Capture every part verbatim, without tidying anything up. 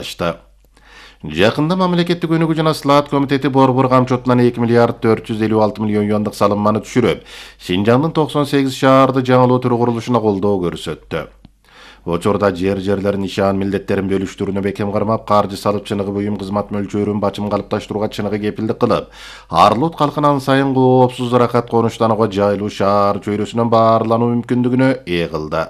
açtı. Жакында мамлекеттик өнүгүү жана слаат комитети Борбор камчотунан эки миллиард төрт жүз элүү алты миллион юандык салымманы түшүрүп, Шинжаңдын токсон сегиз шаарды жаңылоотуруу курулушуна колдоо көрсөттү. Учурда жер жерлерин ишан милдеттерин бөлүштүрүүнү бекем кармап, каржы салып чыныгы буюм кызмат мөлчөрүн бачым калыпташтырууга чыныгы кепилдик кылып, Арлут калкынан сайын коопсуз ырахат конуштанууга жайлуу шаар чөйрөсүнөн баарлануу мүмкүндүгүнө ээ кылды.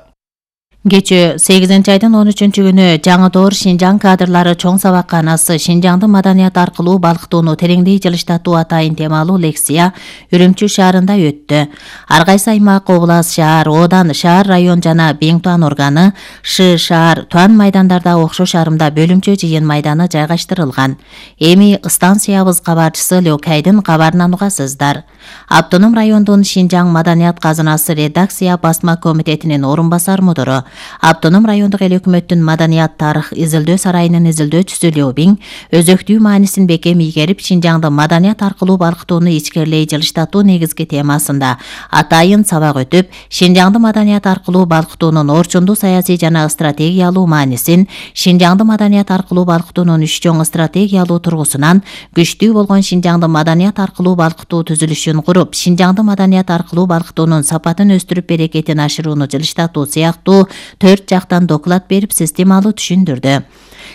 Кечээ сегизинчи айдын он үчүнчү күнү Жаңы-Доор Шинжаң кадрлары чоң сабакканасы Шинжаңды маданият аркылуу балкытууну тереңдей жылыштатуу атайын темалуу лекция Үрүмчү шаарында өттү. Ар кайсы аймак, област, шаар, одан, шаар, район жана Бең-Туан органы, Ш шаар, Туан майдандарда окшош арымда бөлүмчө жыйын майданы жайгаштырылган. Эми станциябыз кабарчысы Лёкайдын кабарын угасыздар. Автоном райондун Шинжаң маданият казынасы редакция басма комитетинин орун басар мудуру, Автоном райондук эл өкмөттүн маданият тарых изилдөө сарайынын изилдөөчүсү Лёбиң өзөктүү маанисин бекем ийгерип, Шинжаңды маданият аркылуу балкытууну ичкерлей жылыштатуу негизги темасында атайын сабак өтүп, Шинжаңды маданият аркылуу балкытуунун орчундуу саясий жана стратегиялуу маанисин, Шинжаңды маданият аркылуу балкытуунун үч чоң стратегиялуу тургусунан күчтүү болгон Шинжаңды маданият аркылуу балкытуу түзүлүшүн куруп, Шинжаңды маданият аркылуу балкытуунун сапатын өстүрүп, берекетин ашырууну жылыштатуу сыяктуу төрт жактан доклад берип, системалуу түшүндүрдү.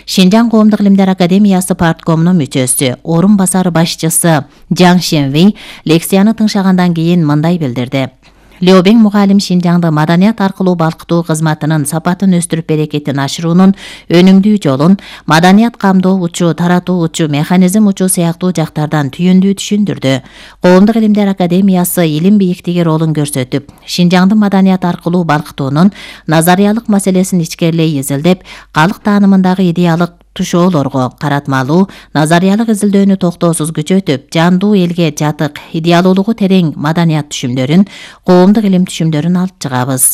Шинжаң коомдук илимдер академиясы парткомунун мүчөсү, орун басары башчысы Жаң Шенвей лекцияны тыңшагандан кийин мындай билдирди. Лёбиң мугалим Шинжаңды маданият аркылуу балкытуу кызматынын сапатын өстүрүп, берекетин ашыруунун өнүмдүү жолун, маданият камдоо учу, таратуу учу, механизм учу сыяктуу жактардан түйүндүү түшүндүрдү. Коомдук илимдер академиясы илим бийиктиги ролун көрсөтүп, Шинжаңды маданият аркылуу балкытуунун назариялык маселесин ичкерлей изилдеп, калк таанымындагы идеялык тушоолорго каратмалуу назариялык изилдөөнү токтоосуз күчөтүп, жандуу элге жатык, идеалуулугу терең маданият түшүмдөрүн, коомдук илим түшүмдөрүн алып чыгабыз.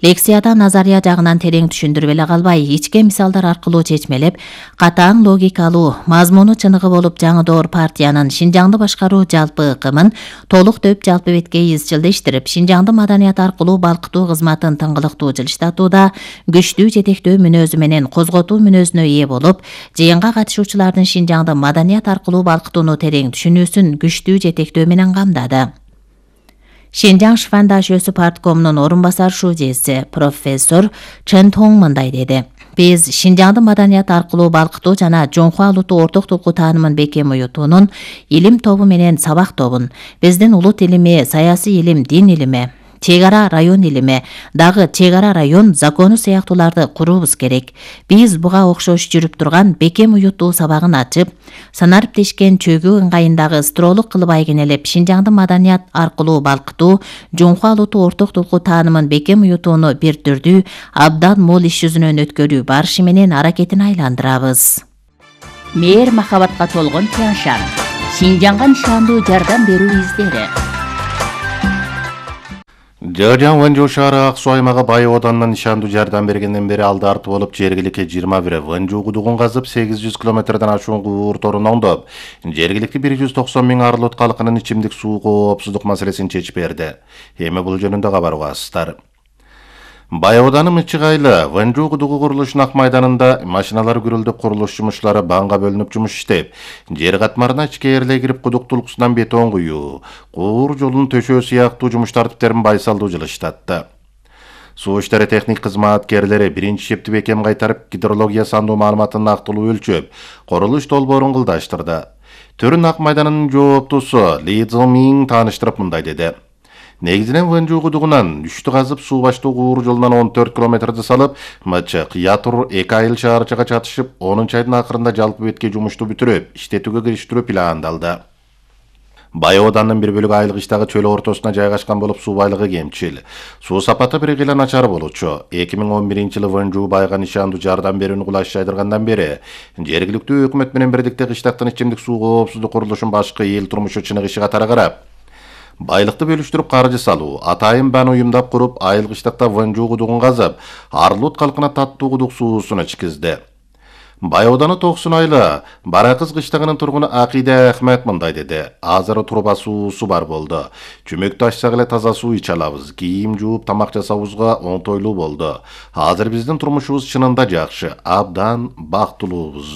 Лекцияда назария жагынан терең түшүндүрүп эле калбай, ичке мисалдар аркылуу чечмелеп, катаң логикалуу, мазмуну чыныгы болуп, Жаңы-Доор партиянын Шинжаңды башкаруу жалпы ыкымын толук төп жалпы бетке изчилдештирип, Шинжаңды маданият аркылуу балкытуу кызматын тыңгылыктуу жылыштатууда күчтүү жетектөө мүнөзү менен козготуу мүнөзүнө ээ болуп, жыйынга катышуучулардын Шинжаңды маданият аркылуу балкытууну терең түшүнүүсүн күчтүү жетектөө менен камдады. Шинжаң Шфандашөсү парткомунун орун басар шужеси профессор Чен Тонг мындай деди. Биз Шинжаңды маданият аркылуу балкытуу жана жоңку алууту орток тулку таанымын бекем уютуунун илим тобу менен сабак тобун, биздин улут илими, саясий илим, дин илими, чек ара район илими, дагы чек ара район закону сыяктууларды куруубуз керек. Биз буга окшош жүрүп турган бекем уюттуу сабагын ачып, санариптешкен чөгүү ыңгайындагы стролук кылып айгинелеп, Шинжаңды маданият аркылуу балкытуу, жоңку алууту орток тулку таанымын бекем уютууну бир түрдүү, абдан мол иш жүзүнөн өткөрүү барышы менен аракетин айландырабыз. Мээр махабатка толгон Тяншан, Шинжаңга нышандуу жардам берүү издери. Жыгыржаң Вэнжоу шаары Ак Суу аймагы Бай Оданынан нишандуу жардам бергенден бери алды арты болуп, жергиликке жыйырма бир Вэнжоу кудугун казып, сегиз жүз километрден ашуун куур торун оңдоп, жергиликти бир жүз токсон миң Арлут калкынын ичимдик суу коопсуздук маселесин чечип берди. Эми бул жөнүндө кабар угасыздар. Бай Оданын ычыгайлы Вэнжоу кудугу курулушунун ак майданында машиналар күрөлдөп, курулуш жумушчулары банга бөлүнүп жумуш иштеп, жер катмарына ичкээрлей кирип кудук тулкусунан бетон куюу, куур жолун төшөө сыяктуу жумуш тартиптерин байсалдуу жылыштатты. Суу иштери техник кызматкерлери биринчи шепти бекем кайтарып, гидрология сандуу маалыматын актылуу өлчөп, курулуш долбоорун кылдаштырды. Төрүн ак майданынын жооптусу Ли Цзомин тааныштырып мындай деди. Негизинен Вэнжоу кудугунан үчтү казып, суу баштуу куур жолунан он төрт километрди салып, Мычык, Ятур, эки айыл шаарчыга чатышып, онунчу айдын акырында жалпы бетке жумушту бүтүрүп, иштетүүгө кириштирүү пландалды. Бай Оданын бир бөлүгү айылгычтагы чөл ортосуна жайгашкан болуп, суу байлыгы кемчил. Суу сапаты бир кыйла начар болчу. эки миң он биринчи жылы Вэнжоу байга нишандуу жардам берүүнү кулаш жайдыргандан бери жергиликтүү өкмөт менен бирдикте кыштактын ичимдик суу коопсуздук курулушун башкы эл турмушу чыныгышы катары карап, байлыкты бөлүштүрүп каржы салуу, атайын бан уюмдап куруп, айыл кыштакта Вэнжоу кудугун казып, Арлут калкына таттуу кудук суусун ичкизди. Бай ауданы Токсун айылы Баракыз кыштагынын тургуну Акида Ахмет мындай деди. Азыр труба суусу бар болду. Чүмөктү ачсак эле таза суу иче алабыз. Кийим жууп, тамак жасаабызга оңтойлуу болду. Азыр биздин турмушубуз чынында жакшы, абдан бактылуубуз.